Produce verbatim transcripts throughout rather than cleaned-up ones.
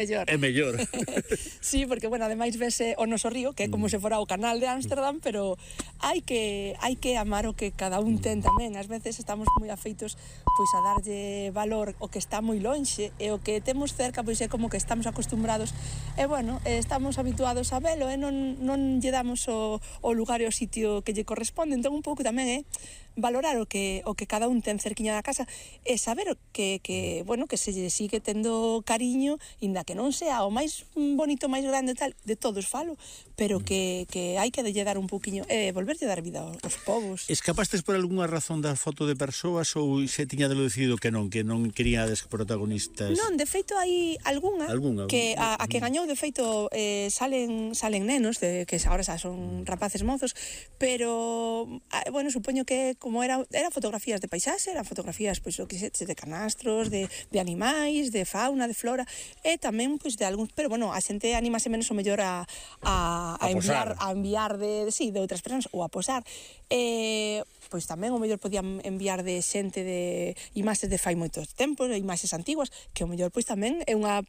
mellor. É mellor. Sí, porque, bueno, ademais vese o noso río, que é como se fora o canal de Ámsterdam, pero hai que hai que amar o que cada un ten tamén. Ás veces estamos moi afeitos pois a darlle valor o que está moi lonxe e o que temos cerca pois é como que estamos acostumbrados e, bueno, estamos habituados a velo e non, non lle damos o, o lugar e o sitio que lle corresponde. Entón, un pouco tamén é valorar o que o que cada un ten cerquiña da casa e saber que, que, bueno, que se lle sigue tendo cariño, inda que non sea o máis bonito, máis grande tal, de todos falo, pero que, que hai que lle dar un pouquiño e eh, volverlle dar vida aos povos. Escapastes por algunha razón da foto de persoas ou se tiña de lo decidido que non, que non queríades protagonistas? Non, de feito hai algunha, ¿Alguna? que a, a que gañou, de feito eh, salen salen nenos de, que agora xa son rapaces mozos, pero bueno, supoño que como era era fotografías de paisaxe, eran fotografías pois o que se, de canastros, de, de animais, de fauna, de flora e tamén pois de algúns, pero bueno, a xente animase menos o mellor a a, a, a enviar a enviar de, de sí, de outras persoas ou a posar. Eh, pois tamén o mellor podían enviar de xente de imaxes de fai moitos tempos, imaxes antiguas, que o mellor pois tamén é unha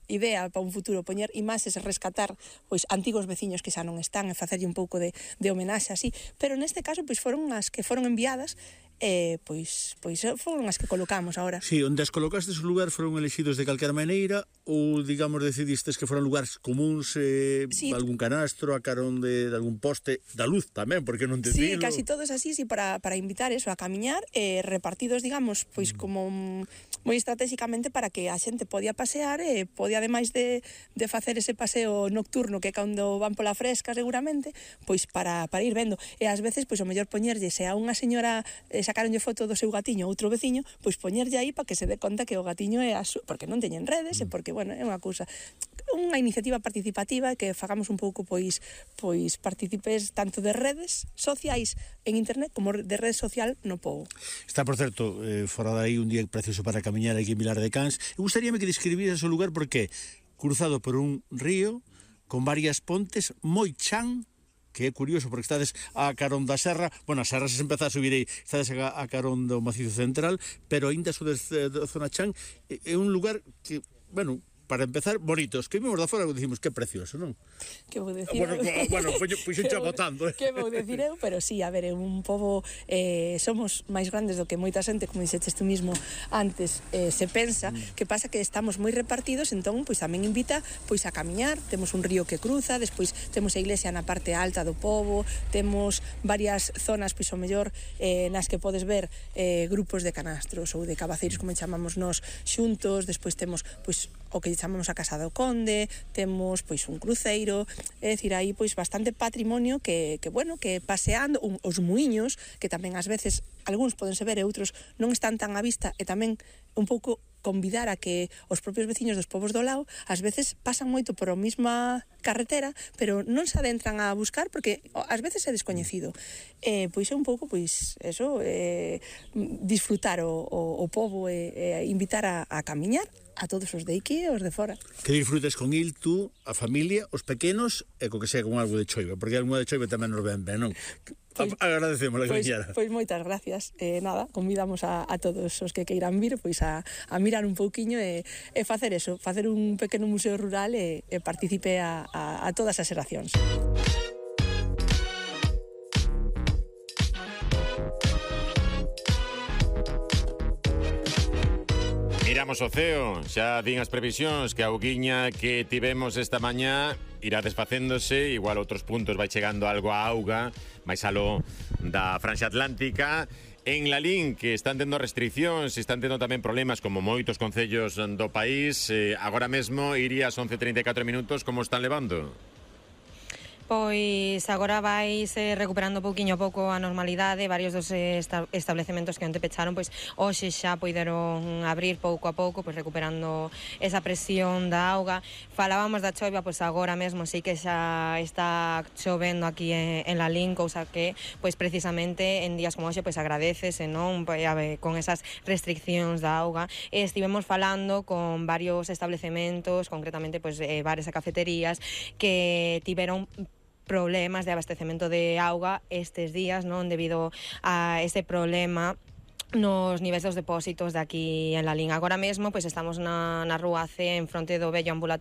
idea para un futuro, poñer imaxes e rescatar pois antigos veciños que xa non están e facerlle un pouco de, de homenaxe así, pero neste caso pois foron as que foron enviadas e pois pois foron as que colocamos agora. Sí, onde as colocastes o lugar foron elexidos de calquera maneira ou, digamos, decidistes que foran lugares comuns, eh, sí, algún canastro, a carón de, de algún poste, da luz tamén, porque non te Sí, dilo. casi todos así, sí, para, para invitar eso, a camiñar, eh, repartidos, digamos, pois mm. como moi estratégicamente para que a xente podía pasear e podía, ademais de, de facer ese paseo nocturno que cando van pola fresca seguramente, pois para, para ir vendo. E ás veces, pois o mellor poñerlle, se a unha señora eh, sacaronlle foto do seu gatiño ou outro veciño, pois poñerlle aí para que se dé conta que o gatiño é a su... porque non teñen redes, mm. e porque, bueno, é unha cousa, unha iniciativa participativa que fagamos un pouco, pois, pois participes tanto de redes sociais en internet como de rede social no pobo. Está, por certo, eh, fora dai un día precioso para camiñar aquí en Vilar de Cans. Eu gustaríame que describires o lugar porque cruzado por un río con varias pontes moi chan, que é curioso porque estades a carón da serra, bueno, a serra se empeza a subir aí, estades a, a carón do macizo central, pero aínda sodes da zona chan, é un lugar que, bueno, para empezar, bonitos, que vimos da fora e dicimos que precioso, non? Que vou decir bueno, eu? Bueno, pois pues, xa botando. Que vou decir eu? Pero sí, a ver, é un pobo, eh, somos máis grandes do que moita xente, como dixeches tú mismo antes, eh, se pensa, mm. que pasa que estamos moi repartidos, entón, pois tamén invita pois a camiñar, temos un río que cruza, despois temos a iglesia na parte alta do pobo, temos varias zonas, pois o mellor, eh, nas que podes ver eh, grupos de canastros ou de cabaceiros, como chamamos nós, xuntos, despois temos, pois, o que chamamos a Casa do Conde, temos pois un cruceiro, é dicir, aí pois bastante patrimonio que, que bueno, que paseando, un, os muiños, que tamén ás veces algúns podense ver e outros non están tan á vista, e tamén un pouco convidar a que os propios veciños dos povos do lao ás veces pasan moito por a mesma carretera, pero non se adentran a buscar porque ás veces é descoñecido. Eh, pois é un pouco, pois, eso, eh, disfrutar o, o, o povo e eh, invitar a, a camiñar a todos os de aquí e os de fora. Que disfrutes con il, tú, a familia, os pequenos e co que sea con algo de choiva, porque algo de choiva tamén nos ven ben, non? Pois, agradecemos a pois, pois moitas gracias. Eh, nada, convidamos a, a todos os que queiran vir pois a, a mirar un pouquiño e, e facer eso, facer un pequeno museo rural e, e participe a, a, a todas as xeracións. Miramos o ceo, xa din as previsións que a auguiña que tivemos esta mañá irá desfacéndose, igual outros puntos vai chegando algo a auga, máis aló da franxa atlántica. En Lalín, que están tendo restriccións, están tendo tamén problemas como moitos concellos do país, eh, agora mesmo iría ás once e trinta e catro minutos, como están levando? Pois agora vaise recuperando pouquiño a pouco a normalidade. Varios dos esta establecementos que onte pecharon, pois hoxe xa poideron abrir pouco a pouco, pois recuperando esa presión da auga. Falábamos da choiva, pois agora mesmo sí que xa está chovendo aquí en, en Lalín, cousa que pois precisamente en días como hoxe pois agradecese, non? Pois, ver, con esas restriccións da auga. E estivemos falando con varios establecementos, concretamente pois eh, bares e cafeterías que tiveron problemas de abastecemento de auga estes días, non, debido a ese problema nos niveis dos depósitos de aquí en Lalín. Agora mesmo, pois estamos na, na rúa C, en fronte do vello ambulatorio